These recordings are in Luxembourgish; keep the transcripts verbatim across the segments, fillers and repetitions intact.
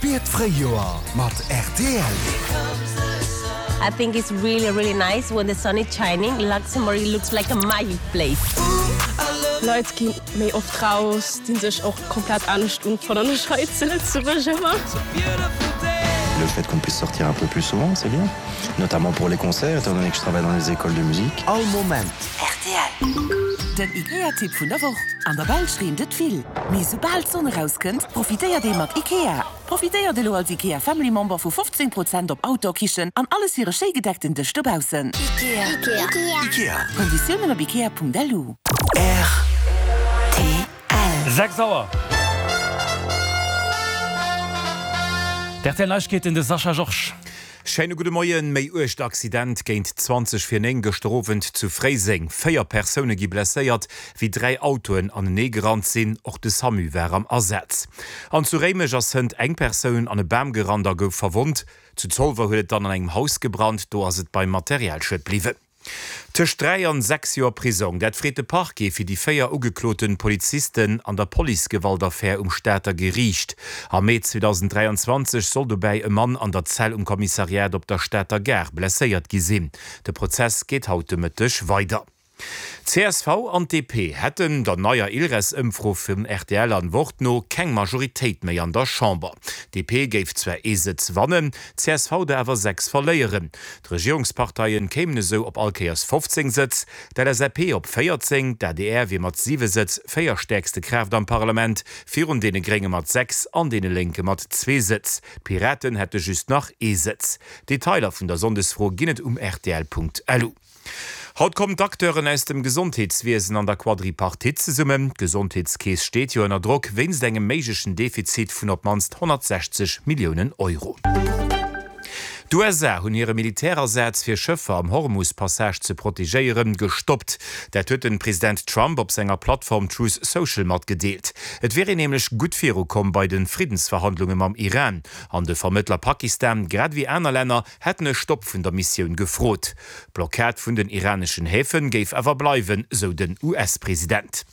Spier d'Fréijoer mat rtl. I think it's really, really nice when the sun is shining. Luxembourg looks like a magic place. Leit gi méi oft raus, dinn sech och komplett anescht un fannen ech hei zu Lëtzebuerg ëmmer. Le fait qu'on puisse sortir un peu plus souvent, c'est bien. Notamment pour les concerts, étant donné que je travaille dans les écoles de musique. All Moment. R T L. Den IKEA-Tipp vun der Woch, An der Belsch reent et vill, mee soubal d'Sonn erauskënnt, profitéiert ee mat IKEA. Profitéiert elo als IKEA Family Member vu fofzéng Prozent op Outdoor-Kichen an alles fir e schéi gedeckten Dësch dobaussen. IKEA. Konditiounen op ikea Punkt L U. R T L. Sechs Auer. D'R T L Neiegkeeten, de Sascha Georges. Schéine gudde Moien. Méi uergt Accident géint zwanzeg vir néng gëschter Owend zu Fréiseng. Véier Persoune gi blesséiert, wéi dräi Autoen anenee gerannt sinn. Och de Samu war am Asaz. An zu Réimech ass hënt eng Persoun an e Bam gerannt a gouf verwonnt. Zu Zolwer huet et dann an engem Haus gebrannt, do ass et beim Materialschued bliwwen. Tëscht dräi an sechs Joer Prisong, dat freet de Parquet fir déi véier ugekloten Polizisten an der Policegewaltaffär um Stater Geriicht. Am Mee zweedausenddräianzwanzeg soll dobäi e Mann an der Zell um Kommissariat op der Stater Gare blesséiert gi sinn. De Prozess geet haut de Mëtteg weider. D'C S V an d'D P hätten, der neier ILRES-Ëmfro vun R T L an Wort no, keng Majoritéit méi an der Chamber. D P géif zwar ee Sëtz wannen, C S V der awer sechs verléieren. D'Regierungsparteien kéimen esou op all Kéiers fofzéng Sëtz, d'L S A P op véierzéng, d'A D R wier mat siwe Sëtz véierstäerkste Kraaft am Parlament, virun deene Grénge mat sechs an deene Lénke mat zwee Sëtz. D'Piraten hätte just nach ee Sëtz. Detailer vun der Sonndesfro ginn et um rtl Punkt L U. Haut kommen d'Acteuren aus dem Gesondheetswiesen an der Quadripartite zesummen. D'Gesondheetskeess steet jo ënner Drock wéinst engem méiglechen Defizit vun op d'mannst honnertsechzeg Milliounen Euro. D'U S A hunn hire Militärasaz fir Schëffer am Hormus-Passage ze protegéieren, gestoppt. Dat huet de President Trump op senger Plattform Truth Social matgedeelt. Et wier een nämlech gutt virukomm bei de Friddensverhandlunge mam Iran. An de Vermëttler Pakistan, grad ewéi aner Länner, hätten e Stopp vun der Missioun gefrot. D'Blockad vun den iraneschen Häfe géif awer bleiwen, sou den U S-President.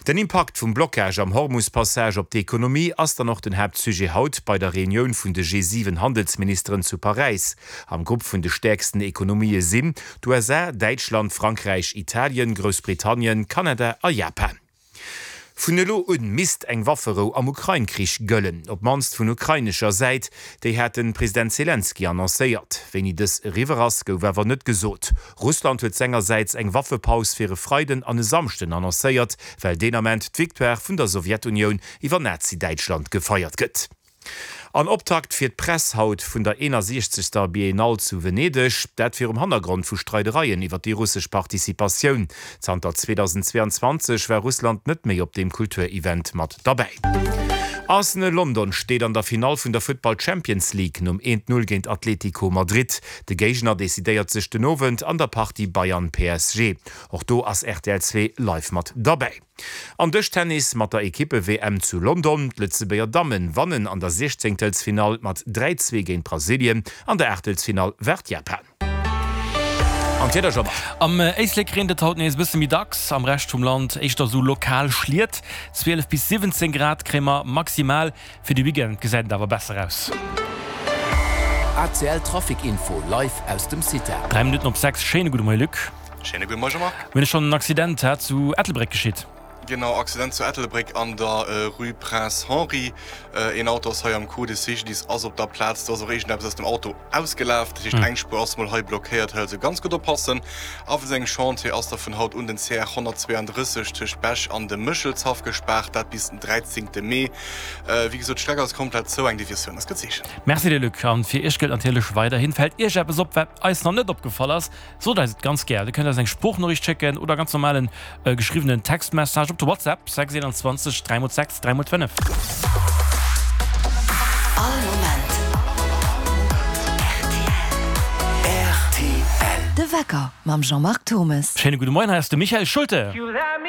Den Impakt vum Blockage am Hormus-Passage op d'Ekonomie ass dann och den Haaptsujet haut bei der Reunioun vun de G siwen Handelsministeren zu Paräis. Am Grupp vun de stäerksten Ekonomië sinn d'U S A, Däitschland, Frankräich, Italien, Groussbritannien, Kanada a Japan. Vun elo un misst eng Wafferou am Ukrain-Krich gëllen, op d'mannst vun ukrainescher Säit. Déi hat de President Selenskyj annoncéiert. Wéini dës eriwwer ass, gouf awer net gesot. Russland huet sengersäits eng Waffepaus fir e Freiden an e Samschden annoncéiert, well deen Ament d'Victoire vun der Sowjetunioun iwwer Nazi-Däitschland gefeiert gëtt. An Optakt fir d'Press haut vun der eenasiechzegster Biennale zu Venedeg, dat virum Hannergrond vu Streidereien iwwer déi russesch Participatioun. Zanter zweedausendzweeanzwanzeg war Russland net méi op deem Kulturevent mat derbäi. Arsenal London steet an der Finall vun der Futtball Champions League nom eent Null géint Atlético Madrid. De Géigner decidéiert sech den Owend an der Partie Bayern-P S G. Och do ass R T L zwee live mat derbäi. An Dëschtennis mat der Ekippe-W M zu London, D'Lëtzebuerger Dammen wannen an der Siechzéngtelsfinall mat dräi zwee géint Brasilien, an der Aachtelsfinall waart Japan. An d'Wieder, Jean-Marc? Am Éislek reent et haut nees e bësse méi dacks, am Rescht vum Land éischter sou lokal Schliet. zwielef bis siwwenzéng Grad kréie mer maximal. Fir de Weekend gesäit et awer besser aus. A C L Trafic Info live aus dem CITAR. Dräi Minutten op sechs, schéine gudde Moie Luc. Schéine gudde Moie Jean-Marc. Mir hunn schonn en Accident hat zu Ettelbréck geschitt. Genau, Accident zu Ettelbréck an der Rue Prince Henri. Een Auto ass hei am Coup, de C G D I S ass op der Plaz. Do ass och iergendeppes aus dem Auto ausgelaf. Dat heescht, eng Spuer ass mol hei blockéiert. Hei also ganz gutt oppassen. A wéinst engem Chantier ass da vun haut un den C R honnertzweeandrësseg tëscht Bech an dem Méchelshaff gespaart, dat bis den dräizéngte Mee. Wéi gesot, d'Streck ass komplett zou, eng Deviatioun ass gezeechent. Merci dir Luc. An fir iech gëllt natierlech weiderhin, fält iech eppes op, wat eis nach net opgefall ass, sot eis et ganz gär. Dir kënnt eis eng Sproochnoriicht schécken oder ganz normalen geschriwwenen Textmessage op de WhatsApp sechs einundzwanzeg dräi mol sechs dräi mol fënnef. All Moment R T L. De Wecker mam Jean-Marc Thomes. Schéine gudde Moien, hei ass de Michael Schulte.